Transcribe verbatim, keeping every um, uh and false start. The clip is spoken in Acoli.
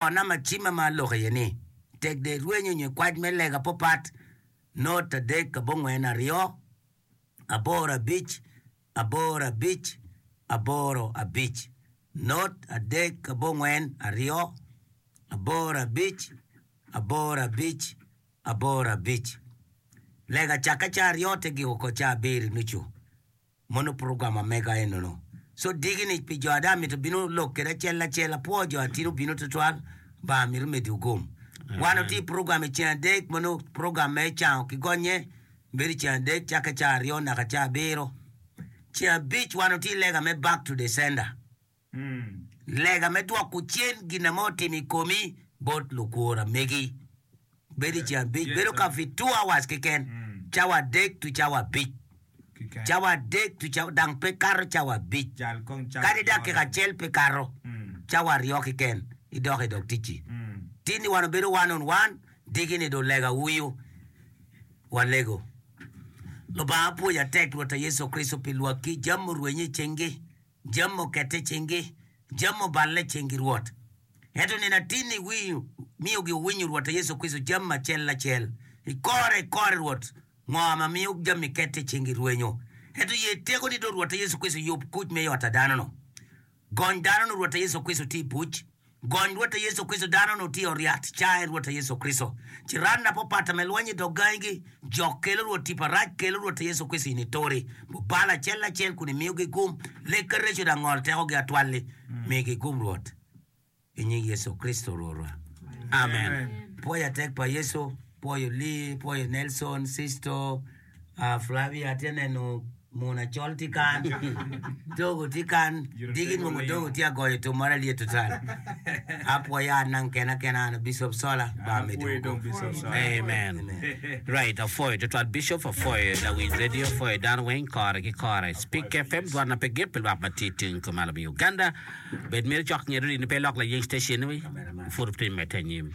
Namba cimma ma aloko iye ni, Tek de irwenyo nyo ikwac me lega popat, not adek abongwen aryo, aboro abic, aboro abic, aboro abic. Not adek abongwen aryo, aboro abic, aboro abic, aboro abic. Lega cakke ca aryo te giko oko ca abiro nucu. Mono program ma mega enono. So digi ni pi jo ada mito bino lok kede acel acel apwo jo atino bino tutwal ba mito medi ogom. Wan oti program i ceng adek mono program me cango ki gonye bedo i ceng adek cake ca aryo naka ca abiro. Ceng abic wan oti lega me back to the sender. Lega me dwoko cen gin ma otimo i komi bot lukwor megi. Bedo i ceng abic bedo ka fi two hours keken, cawa adek to cawa abic. Cawa adek to cawa dang pe kato cawa abic. Kadi dakika acel pe kato, cawa aryo keken idok i dog ticci. Tin ni wan obedo one on one, diki ni dong lega wuyu walego. Lubanga apwoyo atek Rwota Yecu Kricito pi lwakki jami murwenyo i cingi. Jami okette i cingi, jami oballe i cingi Rwot. Ento nino atinni miyo giwinyo Rwot Yecu Kricito jami acel acel i kore i kore Rwot, ngo ma miyo jami kette i cingi rwenyo. Ento ye tekoni do Rwot Yecu Kricito yub kuc me i ot a dano-nu. Gony dano-nu Rwot Yecu Kricito tye i buc. Gony Rwotta Yecu Kricito, dano-nu tye i oryat, cae Rwotta Yecu Kricito. Ciran na popata me lweny i dog gangigi, jok kelo Rwot tipo arac kelo Rwotta Yecu Kricito in ituri. Bubalo acel acel kun imiyogi gum, lek ka reco dang ngol tekogi atwal-li, migi gum Rwot, i nying Yecu Kricito Rwotwa. Amen. Pwoyo atek pa Yecu, pwoyo Lee, pwoyo Nelson, Sisto, Flavia atye neno munu acol tye kan, Togo tye kan, diki nongo Togo tye agoyo tum moro alyet tutwal. Apwoyo an nang kena kena an Bishop Sola ba me Togo. Amen. Right, apwoyo tutwal Bishop, apwoyo lawiny radio, apwoyo dano weng kore ki kore. Speak F M dwan na pe gik pi lwak ma tye tung kumalo me Uganda. Bed myero cok ngeto ni pe ilok layeng station ni pud otim medde anyim.